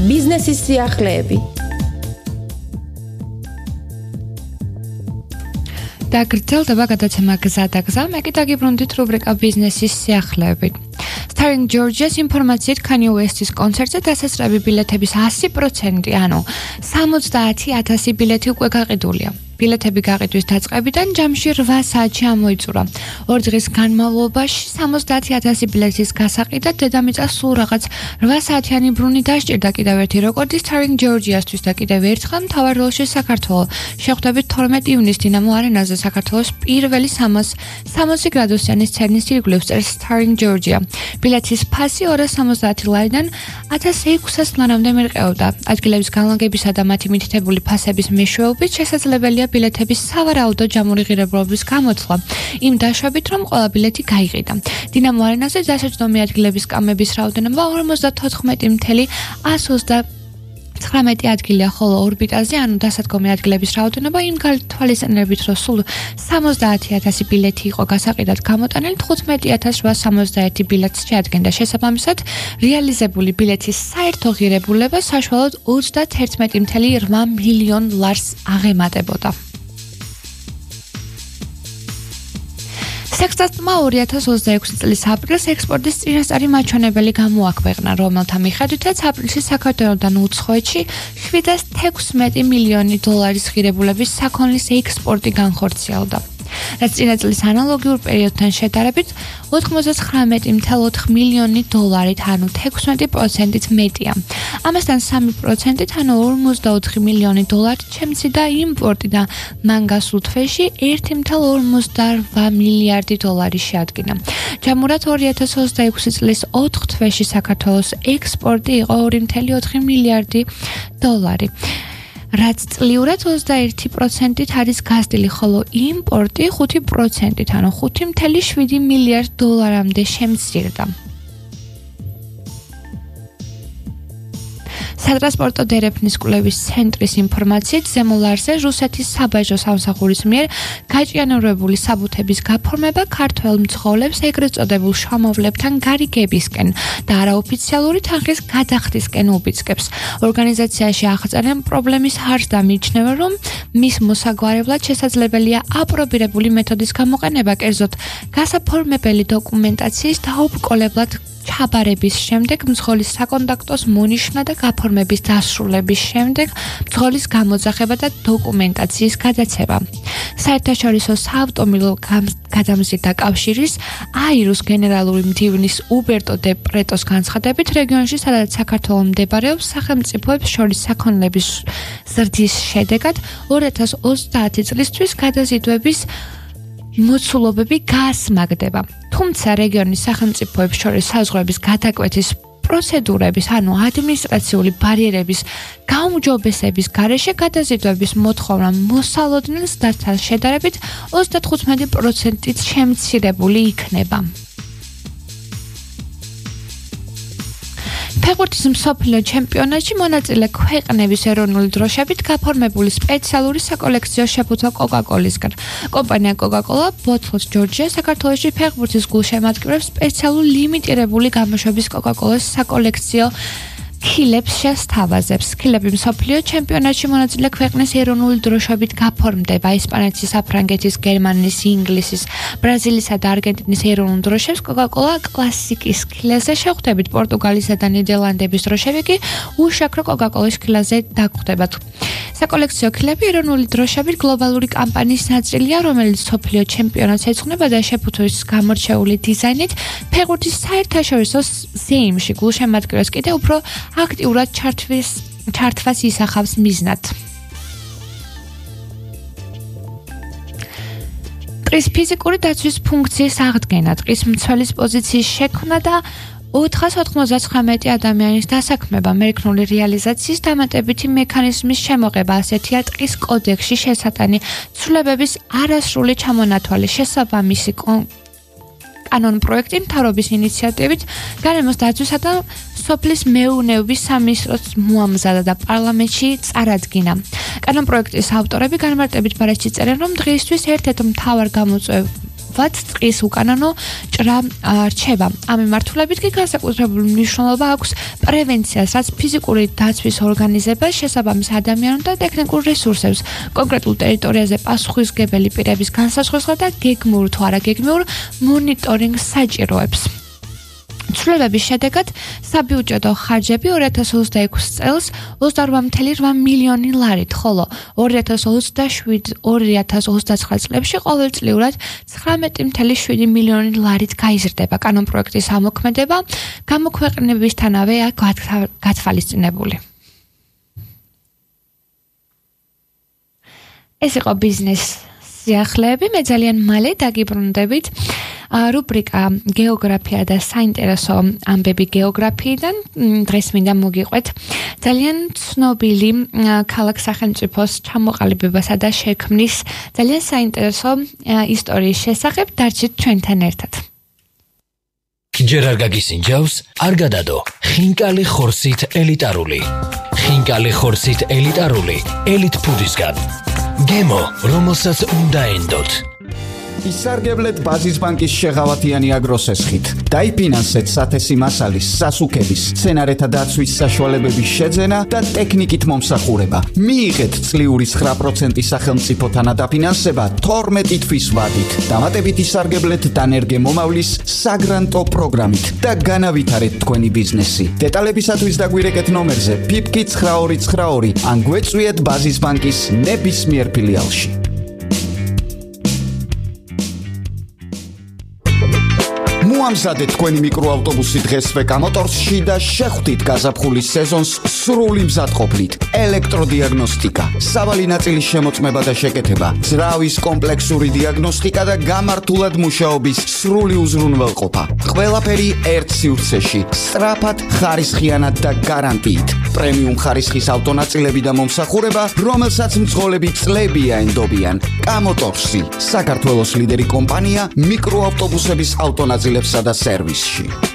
ბიზნესის სიახლეები. დაგრძელდება გადაცემა გზა და გზა, მე კი დაგიბრუნდით რუბრიკა ბიზნესის სიახლეებით. Starring Georgia's ინფორმაციით Kanye West-ის კონცერტზე დასასრები ბილეთების 100%, ანუ 70,000 ბილეთი უკვე გაყიდულია. ბილეთები გაყიდვის დაწყებიდან ჯამში 8 საათში ამოიწურა. 2 დღის განმავლობაში 70,000 ბილეთის გასაყიდად დედამიწას სულ რაღაც 8 საათიანი bruni დასჭირდა კიდევ ერთი რეკორდი Starring Georgia-სთვის და კიდევ ერთხელ მთავარ როლში საქართველო. შეხვდებით 12 ივნისს დინამო არენაზე საქართველოს პირველი 360 გრადუსიანი სცენის ირგვლივ წერს Starring Georgia. ბილეთის ფასი 270 ლარიდან 1600 ლარამდე მერყეობდა. ადგილების განლაგებისა და მათი მითითებული ფასების მეშვეობით შესაძლებელია ბილეთების სავარაუდო ჯამური ღირებულების გამოთვლა იმ დაშვებით, რომ ყველა ბილეთი გაიყიდა. დინამო არენაზე დასაჯდომი ადგილების კამების რაოდენობა 54,129 ადგილია, ხოლო ორბიტაზე, ანუ დასადგომი ადგილების რაოდენობა იმ გათვალისწინებით, რომ სულ 70,000 ბილეთი იყო გასაყიდად გამოტანილი, 15,861 ბილეთს შეადგენდა. შესაბამისად, რეალიზებული ბილეთის საერთო ღირებულება საშუალოდ 31,8 მილიონ ლარს აღემატებოდა. სექსტატმა 2026 წლის აპრილს ექსპორტის წინასწარი მაჩვენებელი გამოაქვეყნა, რომელთა მიხედვითაც აპრილში საქართველოდან უცხოეთში 716 მილიონი დოლარის ღირებულების საქონლის ექსპორტი განხორციელდა. რაც წინა წლის ანალოგიურ პერიოდთან შედარებით 99,4 მილიონი დოლარით, ანუ 16%-ით მეტია. ამასთან 3%-ით, ანუ 44 მილიონი დოლარით შემცირდა იმპორტი და მან გასულ თვეში 1,58 მილიარდი დოლარი შეადგინა. ჯამურად 2026 წლის 4 თვეში საქართველოს ექსპორტი იყო 2,4 მილიარდი დოლარი. რაც წლიურად 21%-ით არის გაზრდილი, ხოლო იმპორტი 5%-ით, ანუ 5,7 მილიარდ დოლარამდე შემცირდა. სატრანსპორტო დერეფნის კვლევის ცენტრის ინფორმაციით, ზემო ლარზე რუსეთის საბაჟო სამსახურის მიერ გაჭიანურებული საბუთების გაფორმება ქართველ მძღოლებს ეგრეთ წოდებულ შრომავლებთან გარიგებისკენ და არაოფიციალური თანხის გადახდისკენ უბიძგებს. ორგანიზაციაში აღწერენ პრობლემის ჰარს და მიიჩნევენ, რომ მის მოსაგვარებლად შესაძლებელია აპრობირებული მეთოდის გამოყენება, კერძოდ გასაფორმებელი დოკუმენტაციის დაუბრკოლებლად ჩაბარების შემდეგ მძღოლის საკონტაქტოს მონიშნა და გაფორმების დასრულების შემდეგ მძღოლის გამოძახება და დოკუმენტაციის გადაცემა. საერთაშორისო საავტომობილო გადამზიდვა კავშირის აირუს გენერალური მდივნის უბერტო დე პრეტოს განცხადებით, რეგიონში, სადაც საქართველო მდებარეობს, სახელმწიფოებს შორის საქონლების ზრდის შედეგად 2030 წლისთვის გადაზიდვების მოცულობები გაასმაგდება. თუმცა რეგიონის სახელმწიფოებს შორის საზღვრების გადაკვეთის პროცედურების, ანუ ადმინისტრაციული ბარიერების გაუმჯობესების გარეშე გადაზიდვების მოთხოვნა მოსალოდნელ ზრდასთან შედარებით 35%-ით შემცირებული იქნება. ფეხბურთის მსოფლიო ჩემპიონატში მონაწილე ქვეყნების ეროვნული დროშებით გაფორმებული სპეციალური საკოლექციო შეფუთვა კოკაკოლისგან. კომპანია კოკაკოლა ბოთლს ჯორჯია საქართველოში ფეხბურთის გულშემატკივრებს სპეციალურ ლიმიტირებული გამოშვების კოკაკოლას საკოლექციო ქილებს შესთავაზებს. ქილები მსოფლიო ჩემპიონატში მონაწილე ქვეყნის ეროვნული დროშებით გაფორმდება. ესპანეთის, საფრანგეთის, გერმანიის, ინგლისის, ბრაზილისა და არგენტინის ეროვნულ დროშებს კოკაკოლა კლასიკის ქილაზე შეხვდებით. პორტუგალისა და ნიდერლანდების დროშები კი უშაქრო კოკაკოლის ქილაზე დაგხვდებათ. საკოლექციო ქილები ეროვნული დროშებით გლობალური კამპანიის ნაწილია, რომელიც მსოფლიო ჩემპიონატს ეძღვნება და შეფუთვის გამორჩეული დიზაინით ფეხბურთის საერთაშორისო ზეიმში გულშემატკივრებს კიდევ უფრო აქტიურად ჩართვას ისახავს მიზნად. ტყის ფიზიკური დაცვის ფუნქციის აღდგენა, ტყის მცველის პოზიციის შექმნა და 499 ადამიანის დასაქმება, მერქნული რეალიზაციის დამატებითი მექანიზმის შემოღება, ასეთია ტყის კოდექსში შესატანი ცვლილებების არასრული ჩამონათვალი, შესაბამისი კანონ პროექტი მთავრობის ინიციატივით გარემოს დაცვისა და სოფლის მეურნეობის სამინისტროს მოამზადა და პარლამენტში წარადგინა. კანონ პროექტის ავტორები განმარტებით ბარათში წერენ, რომ დღეისთვის ერთ-ერთ მთავარ ვთქვათ, წყლის უკანონო ჭრა რჩება. ამ მიმართულებით კი განსაკუთრებული მნიშვნელობა აქვს პრევენციას, რაც ფიზიკური დაცვის ორგანიზებას, შესაბამის ადამიანურ და ტექნიკურ რესურსებს, კონკრეტულ ტერიტორიაზე პასუხისმგებელი პირების განსაზღვრას და გეგმურ თუ არაგეგმურ მონიტორინგს საჭიროებს. ცვლილებების შედეგად საბიუჯეტო ხარჯები 2026 წელს 28,8 მილიონი ლარით, ხოლო 2027-2029 წლებში ყოველწლიურად 19,7 მილიონი ლარით გაიზრდება. კანონპროექტის ამოქმედება გამოქვეყნებისთანავეა გათვალისწინებული. ეს იყო ბიზნეს სიახლეები, მე ძალიან მალე დაგიბრუნდებით რუბრიკა გეოგრაფია და საინტერესო ამბები გეოგრაფიიდან. დღეს მინდა მოგიყვეთ ძალიან ცნობილი ქალაქ სახელმწიფოს ჩამოყალიბებასა და შექმნის ძალიან საინტერესო ისტორიის შესახებ. დარჩით ჩვენთან ერთად. ჯერ არ გაგისინჯავს, არ გადადო. ხინკალი ხორცით ელიტარული. ხინკალი ხორცით ელიტარული ელიტ ფუდისგან. გემო, რომელსაც უნდა ენდოთ. ისარგებლეთ ბაზის ბანკის შეღავათიანი აგროსესხით. დაიფინანსეთ სათესი მასალის, სასუქების, სცენარეთა დაცვის საშუალებების შეძენა და ტექნიკით მომსახურება. მიიღეთ წლიური 9% სახელმწიფო თანადაფინანსება 12 თვის ვადით. დამატებით ისარგებლეთ დანერგე მომავლის საგრანტო პროგრამით და განავითარეთ თქვენი ბიზნესი. დეტალებისათვის დაგვირეკეთ ნომერზე PIPKI 9292 ან გვეწვიეთ ბაზის ბანკის ნებისმიერ ფილიალში. მოამზადეთ თქვენი მიკროავტობუსი დღესვე კამოტორსში და შეხვდით გაზაფხულის სეზონს სრული მზადყოფნით. ელექტროდიაგნოსტიკა, სავალი ნაწილის შემოწმება და შეკეთება, ძრავის კომპლექსური დიაგნოსტიკა და გამართულად მუშაობის სრული უზრუნველყოფა. ყველაფერი ერთ სივრცეში, სწრაფად, ხარისხიანად და გარანტიით. პრემიუმ ხარისხის ავტონაწილები და მომსახურება, რომელსაც მძღოლები წლებია ენდობიან. კამოტორსი, საქართველოს ლიდერი კომპანია მიკროავტობუსების ავტონაწილებსა და სერვისში.